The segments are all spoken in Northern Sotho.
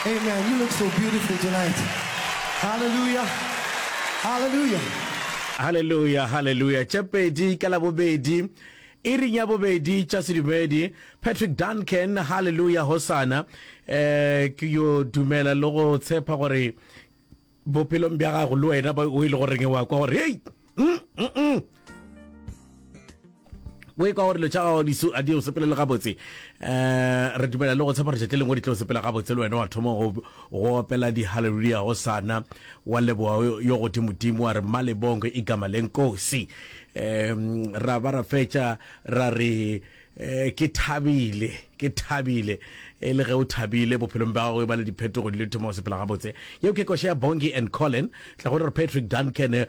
Amen. You look so beautiful tonight. Hallelujah. Hallelujah. Hallelujah, hallelujah. Tše pedi ka Labobedi, iring ya bobedi tša sedumedi. Patrick Duncan, hallelujah, hosana. Eh, ke yo dumela le go tshepa gore bophelong bja gago le wena o e le goreng wa kwa gore hei mm, mm, mm. o e kwa gore dilo tša gago di a di o sepelele gabotse um re dumela le go tshepa gore tšatši lengwe di tlo sepela gabotse le wena wa thoma go opela di-halleluja go sana wa leboga yo godimodimo wa re mmalebongo igama lenkosi um ra ba ra fetša ra re Eh, ke thabile, ke thabile. E le ge o thabile bophelong bja gago e ba le diphetogo di le thoma go sepela gabotse. Yeo ke koša ya Bongi and Colin. Tla go re Patrick Duncan eh,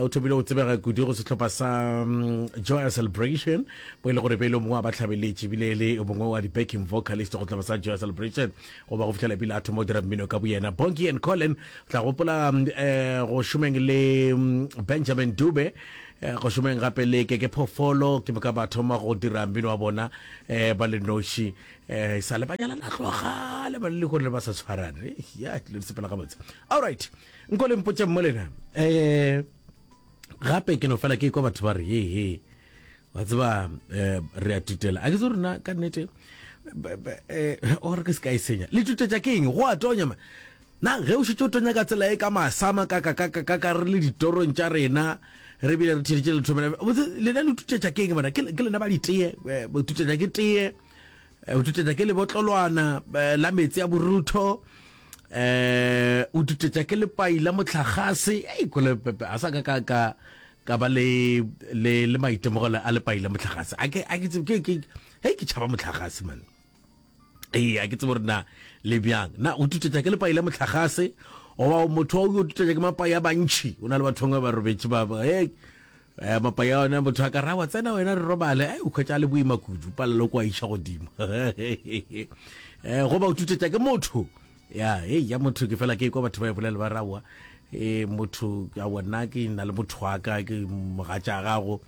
o thomile go tsebega kudu go sehlopha sa um, Joy Celebration, bo e le gore be e le mongwe wa bahlabeletši ebile e le mongwe wa di-backing vocalist go sehlopha sa Joy Celebration go ba go fihlela ebile a thoma go dira mmino ka boyena. Bongi and Colin tla gopola mm, eh, go šomeng le mm, Benjamin Dube Eh, go šomeng gape le ke ke phofolo ke moka ba thoma go dira mmino wa bona um ba le noši um sa le ba nyalana tlogale ba le lehono le ba sa tshwarane ya dilo di sepela gabotse allright nko le mpotse mo lena um gape ke no fela ke kwa batho ba re he he wa tseba um re a tutela a ke tse rena ka nnete o re ke se ka e senya le tutetša ke eng go a tonya ma Na ge o šetše o tonya ka tsela e ka masama ka ka ka ka ka ka re le ditorong tša rena re bile re theeditše lethomela botse lena le tutetša ke eng bana ke ke lena ba ditee eh, bo tutetša ke tee eh, o tutetša ke lebotlolwana eh, la meetse a borutho eh o tutetša ke lepai la mohlagase ei kole pepe a sa ka ka ka ka ba le le le maitemogelo a lepai la mohlagase a ke a ke tsebe ke ke hei ke tšhaba mohlagase man Ee, a ke tsebe gore na le bjang. Na o tutetša ke lepai la mohlagase goba motho wa o tutetša ke mapai a bantši? O na le batho bangwe ba robetše ba ba hey, eh, mapai a ona motho a ka ra wa tsena wena re robale, ai o hwetša a le boima kudu, palelo kwa iša godimo. Eh, goba o tutetša ke motho. Ya, hey, ya motho ke fela ke kwa batho ba e bolela ba ra wa. Eh, motho a bona ke na le motho wa ka ke mogatša gago.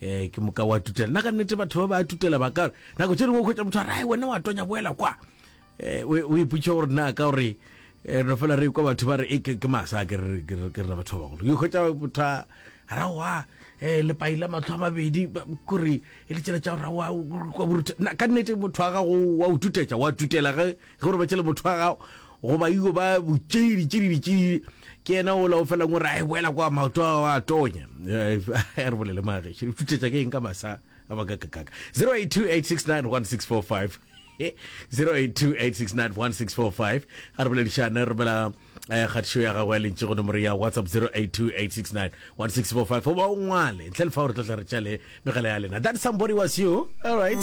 Eh, ke moka wa tutela nna ka nnete batho ba ba tutela ba ka nako tše dingwe o hwetša motho a re wena wa tonya boela kwa um o ipotša gore na ka gore eh, re fela re kwa batho ba re ke masa ke re rena batho ba bagolo ke hwetša motho a rawa um lepai la matlho a mabedi kore e le tsela tša rawa kwa borutha ka nnete motho wa gago wa o tutetša wa tutela ge Ge o robetše le motho wa gago goba io ba botšidi tšididi tšididi ke yena ola o felang o re a boela kwa maoto a a tonya. Eh, re bolele magešo. Tutetša ke eng ka masa a makakakaka. 0828691645 0828691645 a re boledišane re romela eh, kgatišo ya gago ya lentši go nomoro ya whatsapp 0828691645 goba o ngwale ntle le fa gore tlo tla re tšale megala ya lena that somebody was you all right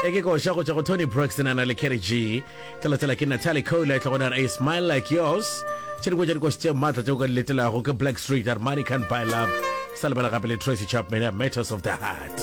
e ke koša go tšwa go tony braxton a na le kerry g tla ke natalie cole e tla gona a smile like yours tše dingwe tša dikoši tše maatla tše o ka di letelago ke black street armani can buy love sa lebala gape le tracy chapman ya matters of the heart.